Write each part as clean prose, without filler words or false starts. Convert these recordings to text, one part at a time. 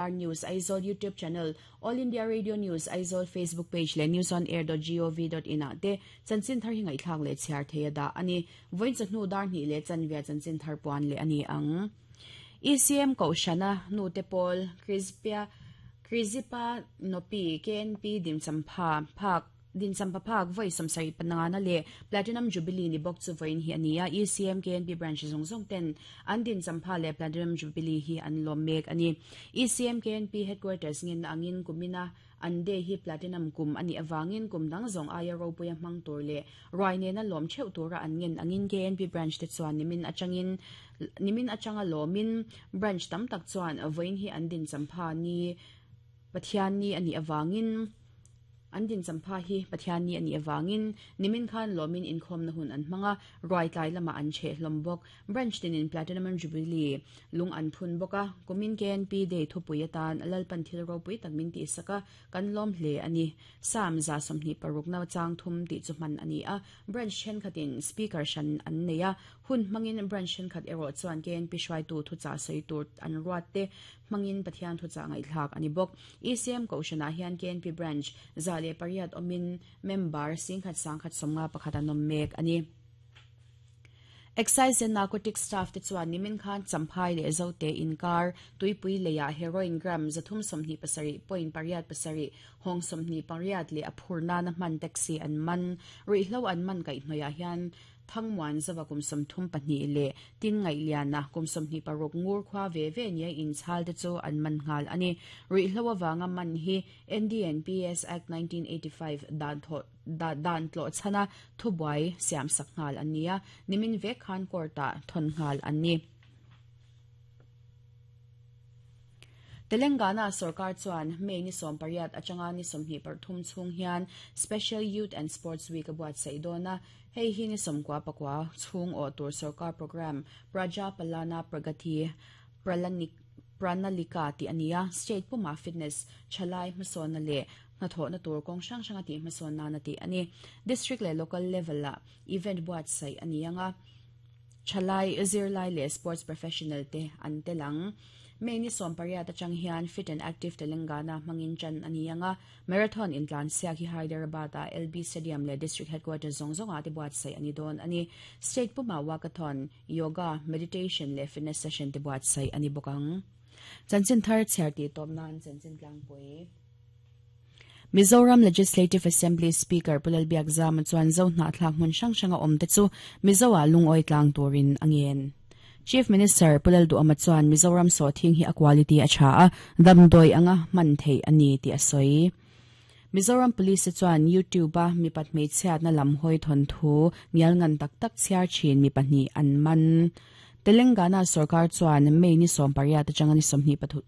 News Aizawl YouTube channel, All India Radio News Aizawl Facebook page leh newsonair.gov.in ah te chanchin thar hi ngaihthlak leh chhiar thei a dah a ni. Vawiin chawhnu dar hnih leh chanvia chanchin thar puan leh a ni ang. ECM Kohhrana nute pawl Krizpia Krizipa Nopi KNP Dinchampha phak Dinchampha phak vawi 70 panangana leh Platinum Jubilee ni bawk chu vawiin hi a ni a, ECM KNP branch zawng zawng ten an Dinchampha leh Platinum Jubilee hi an lawm mek a ni. ECM KNP Headquarters ngenna angin kumina an day hi Platinum kum a nih avangin kum dang zawng aia ropuia hmang tur leh ruai nena lawm theuh tura an ngen angin KNP branch te chuan nimin atangin nimin atanga lawmin branch tam tak chuan vawiin hi an Dinchampha ni Pathianni a nih avangin An dinchampha hi Pathianni a nih avangin nimin khan lawmin inkhawmna hun an hmang a, ruai tlai lamah an cheh hlawm bawk. Branch tinin Platinum Jubilee lung an phun bawk a, kumin KNP Day thupui atan Lalpan thil ropui tak min tihsak a, kan lawm hle a ni. Psalm 26 na chang thum tih chu hman a ni a, Branch thenkhatin Speaker hran an nei a, hun hmangin Branch thenkhat erawh chuan KNP hruaitu thuchah sawi tur an ruat te hmangin Pathian thuchah ngaihthlak a ni bawk. ECM Kohhranah hian KNP Branch 108 awmin member 10,000 10,051 an awm mek a ni. Excise and Narcotics staff te chuan nimin khan Champhai leh Zote inkar Tuipui leiah heroin gram 327.87 hawng 28 leh a phur nana hman taxi an man. Ruihhlo an man kaihhnawihah hian Thangmuan Zova kum 32 leh Tin Ngaihliana kum 26 ngur khua ve ve nia inchhal te chu an man nghal a ni. Ruihhlo avanga man hi NDNPS Act 1985 dan thawh dan tlawh chhana thubuai siamsak nghal an ni a, nimin vek khan court-ah thawn nghal an ni. Telangana sorkar chuan May ni 18 atanga ni 23 chhung hian Special Youth and Sports Week a buatsaih dawn a, hei hi ni 99 chhung awh tur sorkar programme Praja Palana Pragathi Pranalika tih a ni a, state pumah fitness, thalai hmasawnna leh hnathawhna tur kawng hrang hranga tih hmasawn nana tih a ni. District leh local level-ah event buatsaih a ni ang a. Thalai, zirlai leh sports professional te an tel ang. May ni 18 atang hian Fit and Active Telangana hmangin tan a ni ang a, marathon intlansiak hi Hyderabad-ah LB Stadium leh District Headquarters zawng zawngah te buatsaih a ni dawn a ni. State pumah walkathon, yoga, meditation leh fitness session te buatsaih a ni bawk ang. Chanchin thar chhiar tih tawp nan chanchin tlangpui. Mizoram Legislative Assembly Speaker Pu Lalbiakzama chuan Zo hnahthlak hmun hrang hranga awmte chu Mizo-ah lungawi tlang turin a ngen. Chief Minister Pu Lalduhama chuan Mizoram sawhthing hi a quality a tha a, damdawi anga hman theih a ni tih a sawi. Mizoram Police chuan YouTube-a mipat hmeichhiatna lam hawi thawnthu ngial ngan tak tak chhiar thin mi pahnih an man. Telangana sorkar chuan May ni 18 atanga ni 23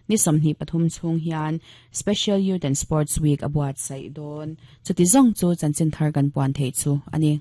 Ni 23 chhung hian Special Youth and Sports Week a buatsaih dawn. Chuti zawng chu chanchin thar kan puan theih chu a ni.